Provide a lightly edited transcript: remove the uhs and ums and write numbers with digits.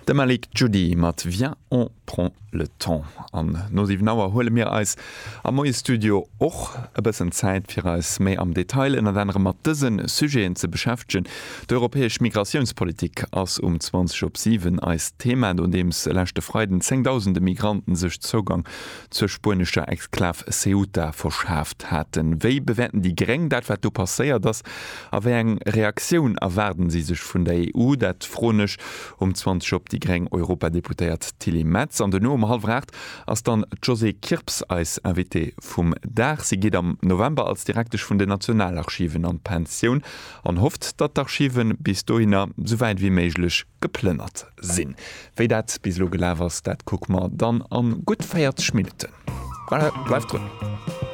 De Malik Djoudi mat Viens on prend le temps. An no 7 Auer huele mir eis am Moie-Studio och e bëssen Zäit, fir eis méi am Detail ënnert anerem mat dëse Sujeten ze beschäftegen. D'europäesch Migratiounspolitik ass um 20 op 7 eist Thema, nodeems leschte Freiden zéngdausende Migranten sech Zougang zur spuenescher Exklav Ceuta verschaaft haten. Wéi bewäerten déi Gréng dat, wat do passéiert ass? A wéi eng Reaktioun erwaarden si sech vun der EU? Dat froen ech um 20 op déi gréng Europadeputéiert Tilly Metz. An duerno um hallwer 8 ass dann d'Josée Kirps eis Invitée vum Dag. Si geet am November als Direktesch vun den Nationalarchiven an d'Pensioun an hofft, datt d'Archive bis dohinner sou wäit wéi méiglech geplënnert sinn. Wéi dat bis elo gelaf ass, dat kucke mer dann a gutt 40 Minutten. Voilà, bleift drun!